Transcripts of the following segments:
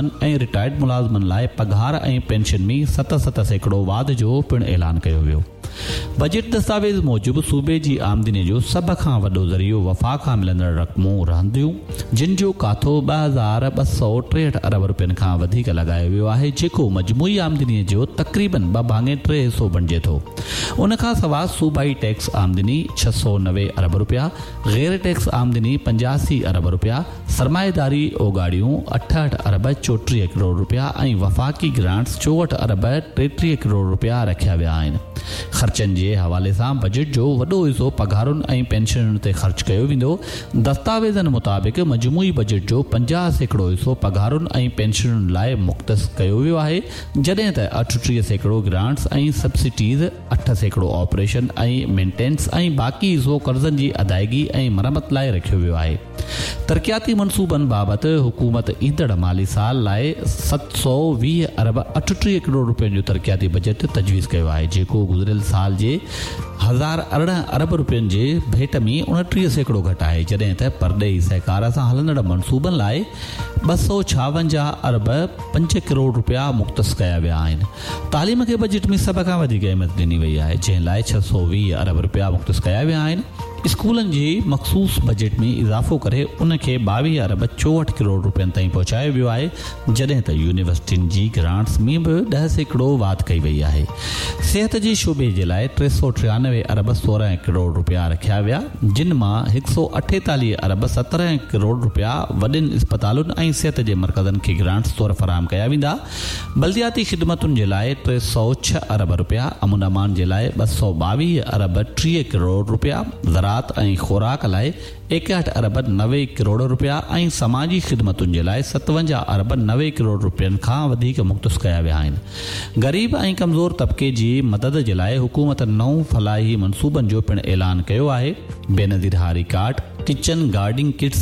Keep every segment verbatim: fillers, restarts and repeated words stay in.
۽ Retired ملازمن لاءِ پگهار ۽ پينشن ۾ ست ست سيڪڙو واڌ جو پڻ اعلان ڪيو ويو. بجيٽ دستاويز موجب صوبي جي آمدني جو سڀ کان وڏو ذريعو وفاق کان ملندڙ رقمون رهنديون، جن جو ڪاٿو ٻه هزار ٻه سؤ ٽيهٺ ارب رپين کان وڌيڪ لڳايو ويو آهي، جيڪو مجموعي آمدني جو تقريبن ٻه ڀاڱي ٽي حصو بڻجي ٿو. ان کان سواءِ صوبائي ٽيڪس آمدني ڇهه سؤ نوي ارب رپيا، غير ٽيڪس آمدني پنجاسي ارب رپيا، سرمائيداري اوڳاڙيون اٺهٺ ارب چوٽيهه ڪروڙ رپيا ۽ وفاقي گرانٽس چوهٺ ارب ٽيٽيهه ڪروڙ رپيا رکيا ويا آهن. خرچن جي حوالي سان بجيٽ جو وڏو حصو پگهارن ۽ پينشنن تي خرچ ڪيو ويندو. دستاويزن مطابق مجموعي بجيٽ جو پنجاهه سيڪڙو حصو پگهارن ۽ پينشنن لاءِ مختص ڪيو ويو آهي، جڏهن ته اٺٽيهه سيڪڙو گرانٽس ۽ سبسڊيز، اٺ سيڪڙو آپريشن ۽ مينٽيننس ۽ باقي حصو قرضن جي ادائگي ۽ مرمت لاءِ رکيو ويو آهي. ترقياتي منصوبن بابت حڪومت ايندڙ مالي سال لاءِ ست سؤ ويهه ارب اٺٽيهه ڪروڙ رپين جو ترقياتي بجيٽ تجويز ڪيو آهي، جيڪو گذريل سال جي هزار ارڙهن ارب رپين جي ڀيٽ ۾ اڻٽيهه سيڪڙو گهٽ آهي، جڏهن ته پرڏيهي سهڪار سان هلندڙ منصوبن لاءِ ٻه سؤ ڇاونجاهه ارب پنج ڪروڙ رپيا مختص ڪيا ويا آهن. تعليم کي بجيٽ ۾ سڀ کان وڌيڪ اهميت ڏني وئي آهي، جنهن لاءِ ڇهه سؤ ويهه ارب رپيا مختص ڪيا ويا آهن. اسڪولن جي مخصوص بجيٽ ۾ اضافو ڪري ان کي ٻاويهه ارب چوهٺ ڪروڙ رپين تائين پهچايو ويو آهي، جڏهن ته يونيورسٽين جي گرانٽس ۾ به ڏهه سيڪڙو واڌ ڪئي وئي آهي. صحت جي شعبي جي لاءِ ٽي سؤ ٽيانوي ارب سورهن ڪروڙ رپيا رکيا ويا، جن مان هڪ سؤ اٺيتاليهه ارب سترهن ڪروڙ رپيا وڏين اسپتالن ۽ صحت جي مرڪزن کي گرانٽس طور فراهم ڪيا ويندا. بلدياتي خدمتن جي لاءِ ٽي سؤ ڇهه ارب رپيا، امن امان جي لاءِ ٻه سؤ ٻاويهه ارب ٽيهه ڪروڙ رپيا، زراعت ۽ خوراڪ لاءِ ايڪهٺ ارب نوي ڪروڙ رپيا ۽ سماجي خدمتن جي لاءِ ستونجاهه ارب نوي ڪروڙ رپين کان وڌيڪ مختص ڪيا ويا آهن. غريب ۽ ڪمزور طبقي جي مدد جي لاءِ حڪومت نو فلاحي منصوبن جو پڻ اعلان ڪيو آهي. بينظير هاري card, kitchen gardening kits,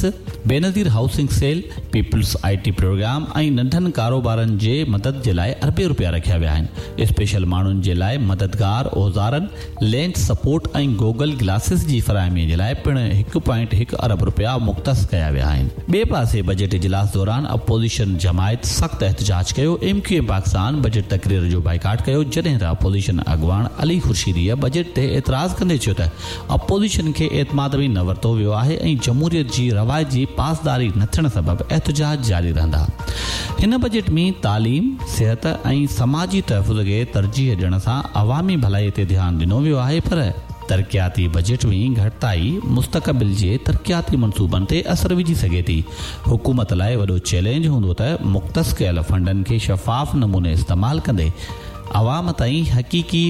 Benazir housing cell, peoples I T programme ۽ ننڍن ڪاروبارن جي مدد جي لاءِ اربين رپيا رکيا ويا آهن. اسپيشل ماڻهن جي لاءِ مددگار اوزارن، لينس سپورٽ ۽ گوگل گلاسز جي فراهمي جي لاءِ پڻ هڪ پوائنٽ هڪ ارب رپيا مختص ڪيا ويا آهن. ٻئي پاسي بجيٽ اجلاس دوران اپوزيشن جماعت سخت احتجاج ڪيو. M Q M Pakistan budget تقرير جو بائيڪاٽ ڪيو، جڏهن ته اپوزيشن اڳواڻ علي خورشيديءَ بجيٽ تي اعتراض ڪندي چيو ته اپوزيشن کي اعتماد ۾ نه ورتو ويو آهي ۽ جمهوريت جي روايت جي پاسداري نه ٿيڻ سبب احتجاج جاري رهندا. هن بجيٽ ۾ تعليم، صحت ۽ سماجي تحفظ کي ترجيح ڏيڻ سان عوامي ڀلائي تي ڌيان ڏنو ويو آهي، پر ترقياتي بجيٽ ۾ گهٽتائي مستقبل جي ترقياتي منصوبن تي اثر وجهي سگهي ٿي. حڪومت لاءِ وڏو چئلينج هوندو ته مختص ڪيل فنڊن کي شفاف نموني استعمال ڪندي عوام تائين حقيقي